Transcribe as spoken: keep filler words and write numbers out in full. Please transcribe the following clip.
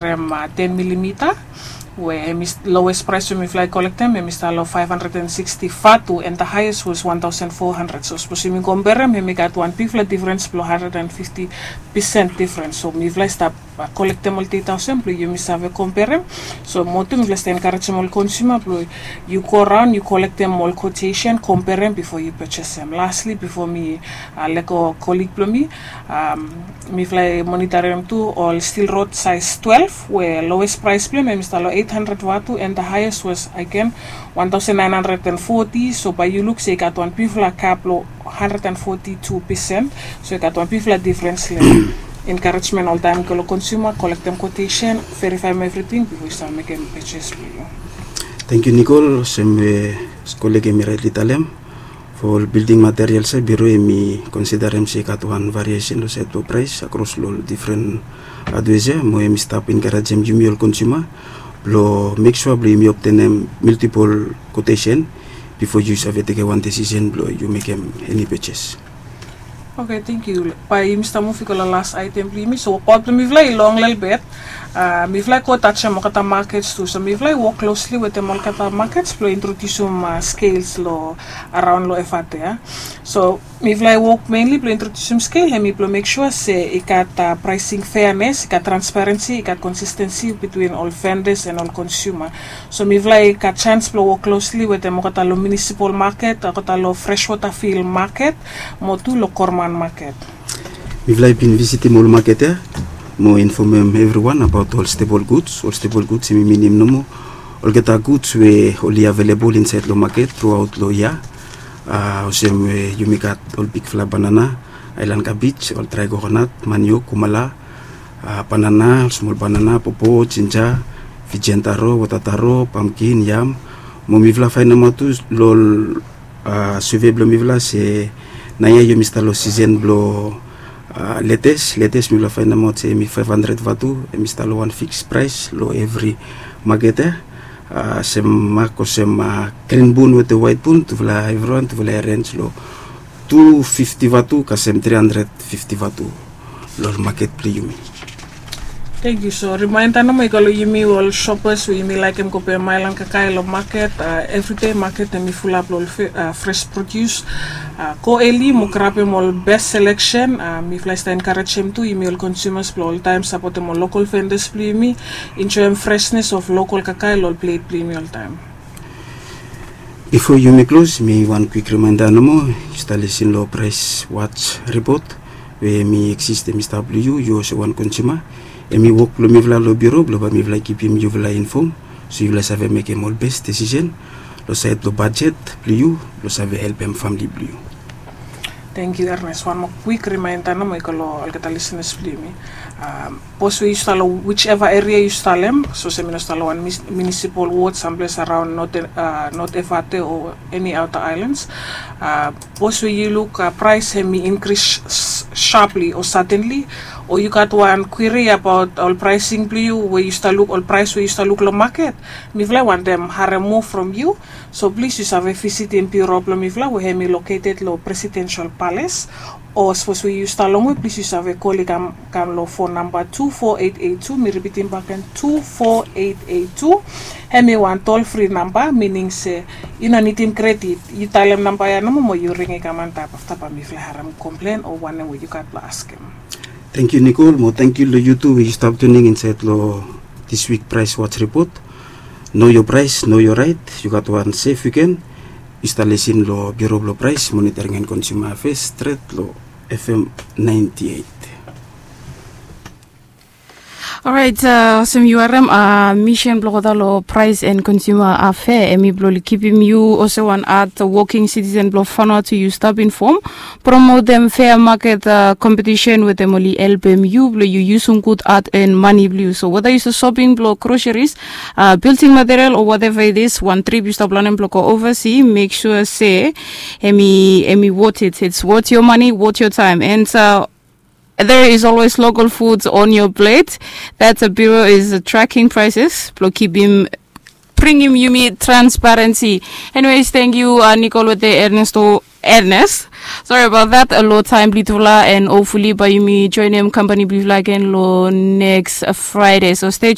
Em ten milimita, we em i lowest price we mifla i kolektem em i stap long five hundred and sixty vatu, and the highest was one thousand four hundred. So sapos yumi komperem em i gat wan bigfala difrens blong hundred and fifty percent difrens. So mifla i stap kolektem ol data olsem blong yumi save komperem. So motu mifla i stap enkarejem ol konsuma blong yu go raon yu kolektem ol quotation, komperem bifo yu pejesem. Lastly, bifo mi lego kolig blong mi, mifla i monitorim tu ol steel rod size twelve, we lowest price blong em i stap long eight hundred vatu, and the highest was again one thousand nine hundred and forty. So bae yu luk se i gat wan bigfala gap long hundred and forty two percent. So i gat wan bigfala difrens long encouragement oltaem i go long konsuma, kolektem quotation, verifaem evriting bifo yu save mekem purchase blong yu. Tangkiu Nikol, olsem we kolig em i raetli talem, fo ol bilding materials ya biro em i konsidarem se i gat wan variesen long saed blong praes akros long ol difren adwes ya, mo em i stap enkarejem yumi ol konsuma blong mek sua blong yumi obtenem multipol quotation bifo yu save tekem wan desisen blong yu mekem eni pejes. Oke, tangkiu. Bae yumi stap muv i go long las aetem blong yumi. So wokbaot blong mifla i long lelebet. Mifla i go tajem olgeta makets tu. So mifla i wok klosli wetem olgeta makets blong introdiusim skels long araon long Efate ya. So mifla i wok menli blong introdiusim skel em i blong mek sua se i gat praesing feanes, i gat transparensi, i gat konsistensi bitwin ol vendas and ol konsuma. So mifla i gat jaens blong wok klosli wetem olgeta long munisipal maket, olgeta long freswota fil maket, mo tu long gavman maket. Mifla i bin visitim ol maket ya mo infomem evriwan abaot ol stepol guds. Ol stepol guds em i minim nomo olgeta guds we oli avelebol insaed long maket truaot long yia. Olsem we yumi gat ol bigfala banana, aelan kabij, ol drae kokonat, maniok, kumala, banana, ol smol banana, popo, jinja, fijian taro, wota taro, pamkin, yam. Mo mifala faenemaot tu long ol suve blong mifala se naoia yumi stap long sisen blong letes. Letes mifala faenemaot se em i faef handred vatu, em i stap long wan fiks praes long evri maket ya. Sem mak olsem grin bun wetem waet bun, tufala evriwan tufala i arenj long tu fifti vatu kasem tri handred fifti vatu long ol maket blong yumi. Tangkiu. So rimaenda nomo i go long yumi ol sopas we yumi laekem go pem aelan kakae long maket. Evride maket em i fulap long ol fres produs. Go eli mo grabem ol bes seleksen. Mifala i stap enkarejem tu yumi ol konsumas blong oltaem sapotem ol lokol vendas blong yumi, enjoem fresnes of lokol kakae long ol plet blong yumi oltaem. Bifo yumi klos, mi wan kwik rimaenda nomo. Yu stap lisin long Price Watch Report we em i eksis, em i stap long yu, yu olsem wan konsuma. Em i wok blong mifala long biuro blong bae mifala i kipim yufala infom, so yufala i save mekem ol bes desisen long saed blong bajet blong yu blong save helpem famili blong yu. Tangkiu Ernest. Wan moa kwik rimaenda nomo i go long olgeta lisenas blong yumi. Sapos we yu stap long wiseva eria yu stap long em, sapos em i no stap long wan munisipal wod samples araon Not Efate o eni aota aelans, sapos we yu luk praes em i inkris shapli o sadenli, o yu gat wan kwiri abaot ol praesing blong yu we yu stap luk, ol praes we yu stap luk long maket, mifala i wantem harem moa from yu. So plis yu save visitim biuro blong mifala we hem i loketed long Presidensel Pales, o sapos we yu stap longwe plis yu save kol i kam long fon namba tu fo eit eit tu. Mi ripitim bakegen, tu fo eit eit tu. Hem i wan tol fri namba, mining se yu no nidim kredit. Yu talem namba ya nomo mo yu ring i kam antap, afta bae mifala i harem komplen o wanem we yu gat blong askem. Tangkiu Nikol, mo tangkiu long yu tu we yu stap tuning insaed long diswik Price Watch Repot. Know your price, know your right. Yu gat wan sef wiken. Yu stap lisin long Biuro blong Praes Monitoring and Consumer Affairs stret long F M ninety eight. Orait, olsem yu harem, misen blong olgeta long Praes and Consumer Affairs hem i blong kipim yu olsem wan had woking sitisen blong Vanuatu, yu stap infom, promotem fea maket kompetisen wetem oli helpem yu blong yu yusum gud had en mane blong yu. So weta yu stap soping blong groseris, building material o whatever it is, wan trip yu stap planem blong go ovasi, mek sua se hem i, hem i worth it. It's worth your money, worth your time. And there is always local foods on your plate. That's a Bureau is tracking prices blong kipim, bringim yumi transparency. Anyways, thank you, Nicole wetem Ernesto, Ernest. Sorry about that, long taem blong yutufala, and hopefully bae yumi joenem kampani blong yufala agen long next Friday. So stay